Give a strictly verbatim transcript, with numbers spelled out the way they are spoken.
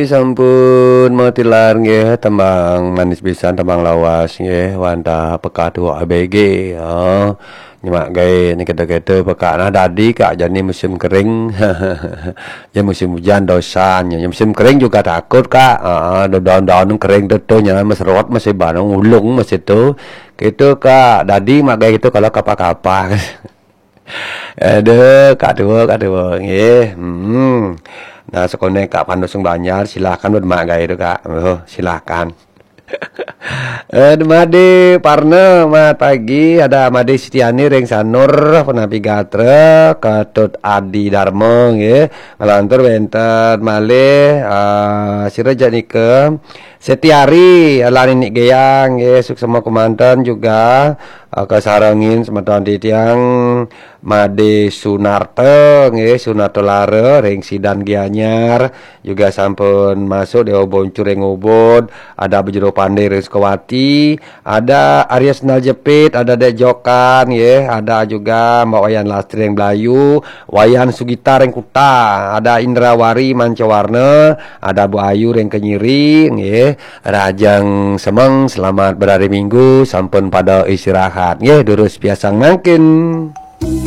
Sampun matilar nggih, tembang manis pisan, tembang lawas nggih, wantah pekak tuwuk A B G. Oh, nyemak gaé ni kita-kita pekak nah dadi, Kak, jani musim kering. Ya musim hujan dosan, ya musim kering juga takut, Kak. Heeh, daun-daun kering tuh, tuh nya meserot masih banung ulung masih tuh. Gitu, Kak. Dadi mak gaé gitu kalau kapa-kapa. Aduh, Kak Tuwuk, Kak Tuwuk, nggih. Hmm. Nah, sekoné Kak Pandu sing Banjar, silakan buat mak gaé itu, Kak. Oh, silakan. Eh, Made Parna, mat pagi, ada Made Sitiani ring Sanur, Penapi Gatra, Ketut Adi Darma, nggih. Ngelantur wénten malih, eh, sira janika. Setiari, ala Ninik Geyang, nggih, suksma kemanten juga, eh, kasarengin semeton titiang Made Sunarta, nggih, Sunarta Lara, ring Sidan Gianyar, juga sampun masuk Dewa Boncu ring Ubud, ada Bejero Pandé ring Sukawati, ada Arya Sendal Jepit, ada Dek Jokan, nggih, ada juga Mbak Wayan Lastri ring Blayu, Wayan Sugita ring Kuta, ada Indrawari Mancawarna, ada Bu Ayu ring Kenyiri, nggih. Rahajeng semeng, selamat berhari Minggu, sampun pada istirahat. Nggih, durus piasang mangkin.